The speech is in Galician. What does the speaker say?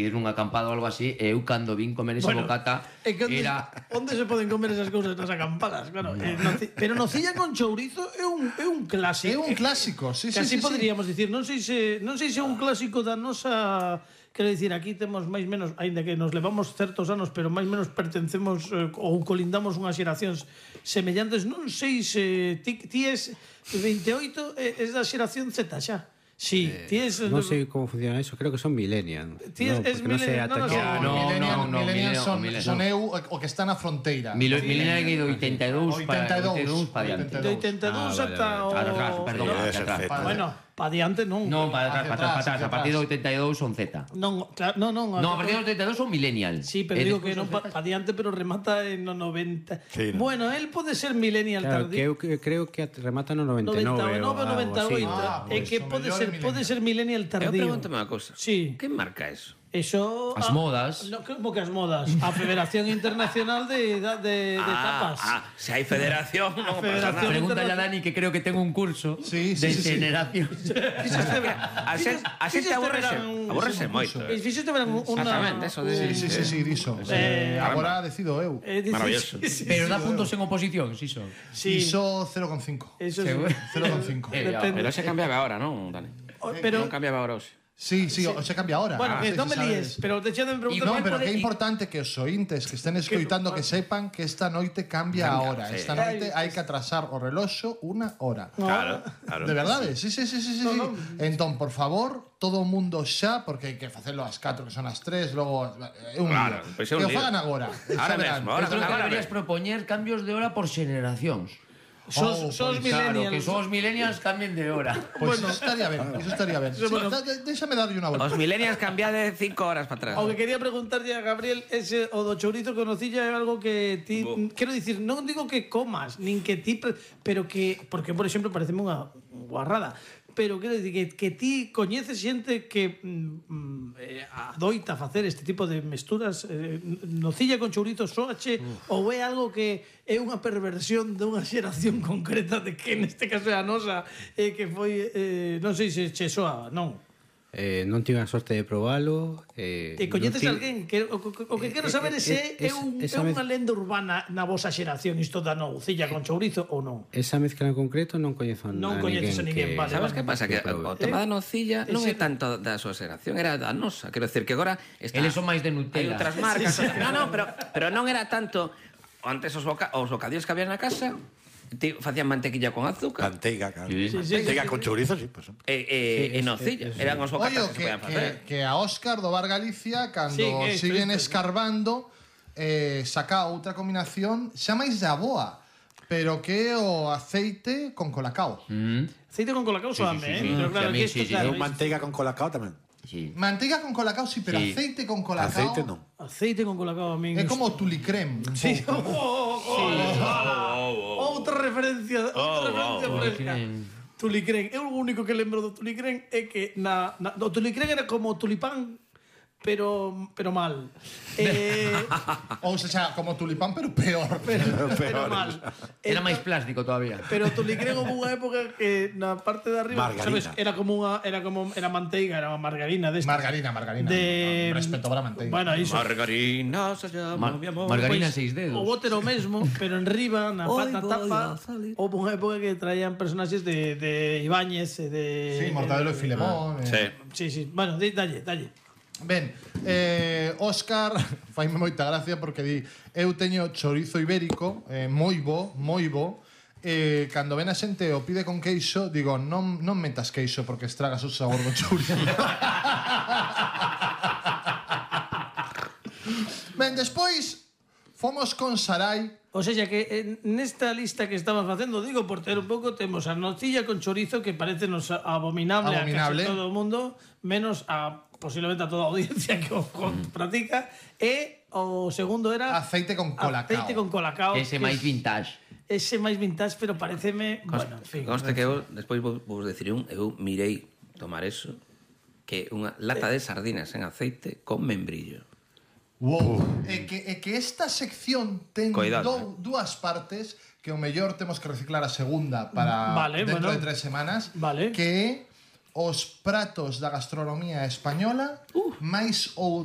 coincidir nunha acampada ou algo así, e eu cando vin comer esa bocata era... Onde se poden comer esas cousas nas acampadas? Claro, pero nocilla con chourizo é un clásico. É un clásico, sí, Casi sí. poderíamos dicir, non sei se é un clásico da nosa... Quero dicir, aquí temos máis menos, aínda que nos levamos certos anos, pero máis menos pertencemos ou colindamos unhas xeracións semellantes. Non sei se ti és 28, és da xeración Z xa. Sí, ti es... Non sei como funciona eso, creo que son millennials. Ti es millennial, millennials son eu o que está na fronteira. Millennial é de 82 para diante. De 82 ata o... Perdón, bueno, pa diante non. Non, para atrás. A partir do 82 son Z. Non, claro, non. No, a partir do 82 son millennial. Sí, pero digo que non pa diante, pero remata en no 90. Sí, no. Bueno, él pode ser millennial tardío. tardío. Creo que remata no 99 98. É que pode ser millennial tardío. Eu pregúntame unha cousa. Sí. Que marca eso? Eso... As modas. No, como que as modas? A Federación Internacional de Tapas. Se hai federación, non pasa nada. Pregúntale a Dani que creo que ten un curso de generación. A xente aborrese moito. Fixeste verán unha... Exactamente, eso de... Sí, diso. Agora decido eu. Maravilloso. Pero dá puntos en oposición, si son. Iso 0,5. Eso sí. 0,5. Pero se cambiaba ahora, non, Dani? Non cambiaba ahora, hoxe. Sí, se cambia ahora. Bueno, que non me líes, pero deixade de preguntar... No, pero que é importante que os ointes que estén escoitando que sepan que esta noite cambia a hora. Esta noite hai que atrasar o reloxo unha hora. Claro. De verdade? Sí. Entón, por favor, todo o mundo xa, porque hai que facelo ás 4, que son as 3, logo é un lío. Que o fagan agora. Ahora mesmo, Creo que deberías propoñer cambios de hora por generacións. Sos millennials. Claro, que sos millennials cambien de hora. Pois iso estaría ben. Déxame darlle unha volta. Os millennials cambiade 5 horas para atrás. O que quería preguntarlle a Gabriel ese o do chourizo con nocilla é algo que ti quero dicir, non digo que comas, nin que ti, pero que porque por exemplo pareceme unha guarrada, pero quero dicir que ti coñeces xente que adoita facer este tipo de mesturas, nocilla con chourizo soache, ou é algo que é unha perversión de unha xeración concreta de que neste caso é a nosa, que foi non sei se che soa, non? Non tive a sorte de probalo. E coñeces alguén? O que quero saber é se é unha lenda urbana na vosa xeración isto da nocilla con chourizo ou non? Esa mezcla en concreto non coñezo a ninguén. Non coñeces a ninguén, vale. Sabes que pasa? Que o tema da nocilla non é tanto da súa xeración, era da nosa. Quero decir que agora... Eles son máis de Nutella. Hai outras marcas. Non, pero non era tanto... Antes os bocadillos que había na casa... Facían mantequilla con azúcar. Manteiga, claro. Sí. Manteiga con chourizo, sí, por exemplo. E nocilla. Eran os bocatas que se podían facer. Que a Óscar do Bar Galicia, cando siguen escarbando, saca outra combinación xa máis de aboa, pero que é o aceite con colacao. Aceite con colacao soame, pero claro que isto Eu manteiga con colacao tamén. Sí. Manteiga con colacao, sí, pero aceite con colacao... Aceite non. Aceite con colacao a min. É como tulicrem. Sí. Outra referencia fresca. Tulicrén. Eu o único que lembro do Tulicrén é que o Tulicrén era como tulipán, pero mal. Ou seja, como tulipán, pero peor. Pero mal. Era máis plástico todavía. Pero Tulicrén houve unha época que na parte de arriba, margarina. sabes, era manteiga, era unha margarina desta. Margarina. Respeto para a manteiga. Bueno, iso. Margarina se llama mi amor. Margarina Pois, 6 dedos. O bote era o mesmo, pero en riba, na tapa, houve unha época que traían personaxes de Ibáñez e de... Sí, Mortadelo e Filemón. Sí. Bueno, dalle. Ben, Óscar faime moita gracia porque di eu teño chorizo ibérico, moi bo, cando ven a xente o pide con queixo, digo, non metas queixo porque estragas o sabor do chorizo. Ben, despois fomos con Sarai. O sea, que nesta lista que estamos facendo, digo, por ter un pouco, temos a nocilla con chorizo que parece nos abominable a casi todo o mundo, menos a posiblemente a toda a audiencia que o pratica, e o segundo era aceite con colacao. Ese máis vintage. Ese máis vintage, pero pareceme, bueno, en fin. Conste que eu despois vos deciré eu mirei tomar eso, que unha lata de sardinas en aceite con membrillo. Wow. É que esta sección ten dúas partes que o mellor temos que reciclar a segunda para dentro de 3 semanas, que é os pratos da gastronomía española máis ou